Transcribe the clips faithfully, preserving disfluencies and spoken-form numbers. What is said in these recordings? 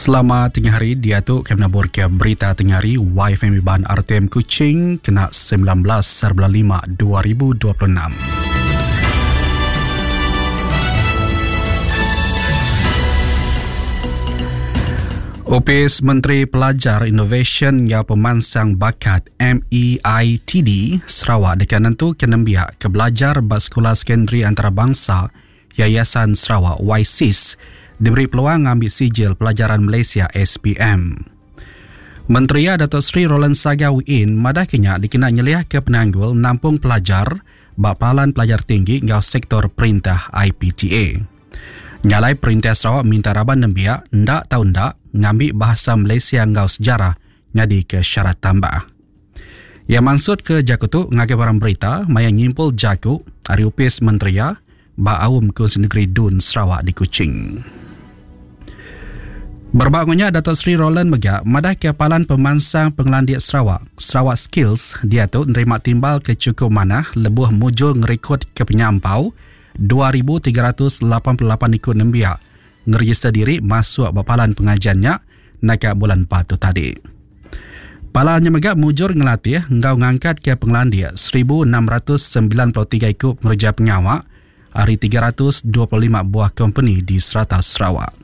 Selamat tengah hari, diatu kami nabur ke berita tengah hari Y F M Iban R T M Kuching kena sembilan belas lima dua ribu dua puluh enam. Opis Menteri Pelajar Inovasyen hingga Pemansang Bakat M E I T D Sarawak dekat nentu kenembiak ke belajar ba sekolah sekondari antarabangsa Yayasan Sarawak Y S I S diberi peluang ngambil sijil pelajaran Malaysia S P M. Menteri Datuk Seri Roland Sagah Wee Inn madah kenya dikena nyeliah ke penanggul nampung pelajar ba palan pelajar tinggi ngau sektor perintah I P T A. Nyalai perintah Sarawak minta raban nembiak ndak tau ndak ngambil bahasa Malaysia ngau sejarah nyadi ke syarat tambah. Ia maksud ke jaku tu ngagai barang berita maya nyimpul jaku ari upis menteri ba awam Kunsi Negeri Dun Sarawak di Kuching. Berbangunnya Datuk Seri Roland mega madah ke Palan Pemansang Pengelandik Sarawak, Sarawak Skills dia tu nerima timbal ke cukup manah lebuh mujur ngerekod ke penyampau dua ribu tiga ratus lapan puluh lapan ikut nembiak ngeregister diri masuk ba palan pengajiannya naik bulan empat tu tadi. Palannya mega mujur ngelatih ngau ngangkat ke pengelandik seribu enam ratus sembilan puluh tiga ikut pengerja pengawak hari tiga ratus dua puluh lima buah company di serata Sarawak.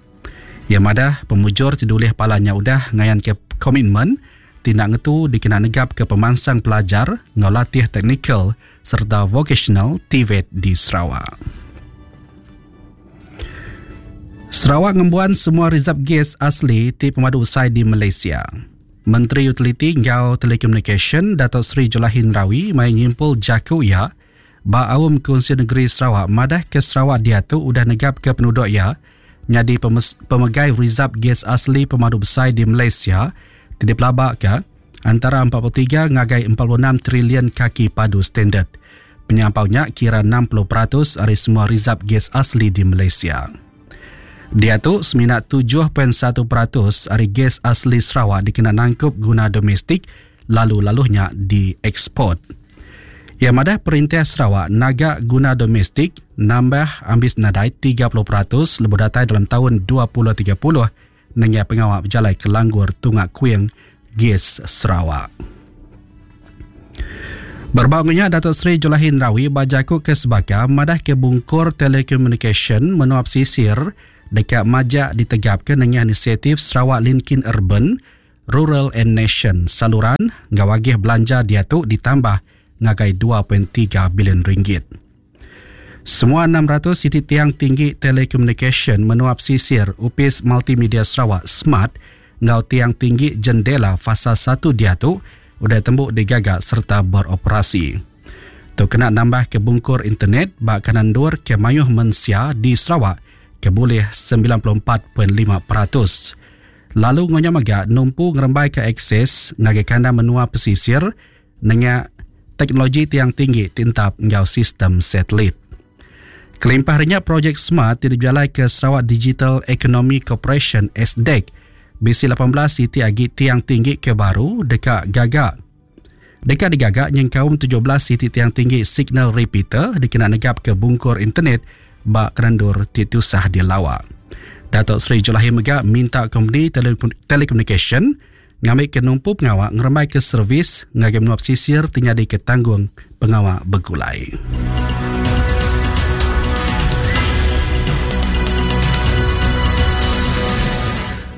Yang madah pemujur tidulih palanya udah ngayan ke komitmen tindak ngetu dikena negap ke pemansang pelajar ngau latih teknikal serta vocational T V E T di Sarawak. Sarawak ngembuan semua rizab gas asli ti pemadu usai di Malaysia. Menteri Utiliti ngau Telecommunication Datuk Seri Julaihi Narawi mai nyimpul jaku ia ba awam Kunsi Negeri Sarawak madah ke Sarawak dia tu udah negap ke penduduk ia nyadi pemegai rizab gas asli pemadu besar di Malaysia tidak pelabak ke antara empat puluh tiga ngagai empat puluh enam trilion kaki padu standard. Penyampaunya kira enam puluh peratus dari semua rizab gas asli di Malaysia. Dia tu seminat tujuh perpuluhan satu peratus dari gas asli Sarawak dikena nangkup guna domestik lalu-laluhnya dieksport. Yang madah perintah Sarawak naga guna domestik nambah ambis nadai tiga puluh peratus lebih datai dalam tahun dua ribu tiga puluh nengah pengawal berjalai ke Langgur Tungak Kuing Gas Sarawak. Berbangunnya Datuk Seri Julaihi Narawi bajaku ke sebaka madah ke bungkur telekomunikasi menuap sisir dekat majak ditegapkan dengan inisiatif Sarawak Linkin Urban, Rural and Nation saluran ngawagih belanja dia tu ditambah ngagai dua perpuluhan tiga bilion ringgit. Semua enam ratus titik tiang tinggi telekomunikasi menuap sisir Upis Multimedia Sarawak Smart ngau tiang tinggi jendela fasa satu dia tu udah tembuk digagak serta beroperasi. Tu kena nambah ke bungkur internet bak kanan dur ke mayuh mensia di Sarawak ke boleh sembilan puluh empat perpuluhan lima peratus. Lalu ngonya maga numpu ngerembai ke akses ngagai kandang menua pesisir dengan teknologi tiang tinggi tintap ngau sistem satelit. Kelimpahnya projek Smart tidak berjalan ke Sarawak Digital Economy Corporation S D E C B C lapan belas siti agi tiang tinggi ke baru dekat gagak. Dekat digagak yang kaum tujuh belas siti tiang tinggi signal repeater dikena negap ke bungkur internet bak kerendur titusah di lawak. Datuk Seri Julaihi mega minta company tele- telekomunikasi ngambil ke numpu pengawak ngerembai ke servis ngagai menuap sisir tinggal di ketanggung pengawak bergulai.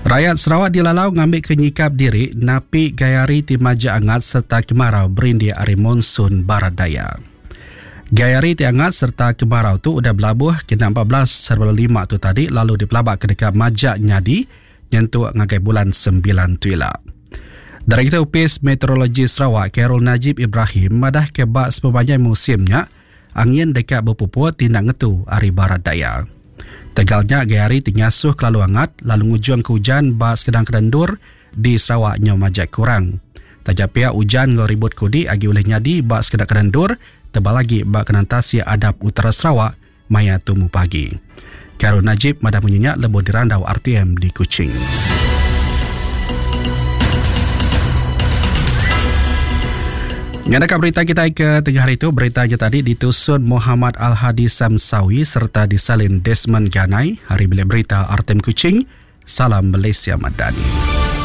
Rakyat Sarawak dilalau ngambil kenyikap diri napi gayari ti maja angat serta kemarau berindi ari monsun barat daya. Gayari ti angat serta kemarau tu udah belabuh kena empat belas serba lima tu tadi lalu dipelabak ke dekat majak nyadi nyentuk ngagai bulan sembilan tu ila. Dari kita Upis Meteorologi Sarawak Carol Najib Ibrahim madah ke bak sepanjang musimnya angin dekat berpupuk tindak ngetu ari barat daya. Tegalnya gayari tingasuh kelalu angat lalu ngujung ke hujan bak sedang kerendur di Sarawak nyo majak kurang. Tajak pihak hujan ngau ribut kudi agi oleh nyadi bak sekedar kerendur tebal lagi bak kenantasi adab utara Sarawak maya tumu pagi. Carol Najib madah menyenyak lebuh dirandau R T M di Kuching. Ngadakan berita kita ke tengah hari itu, berita kita tadi ditusun Muhammad Al-Hadi Samsawi serta disalin Desmond Ganai. Hari bilik berita R T M Kuching, Salam Malaysia Madani.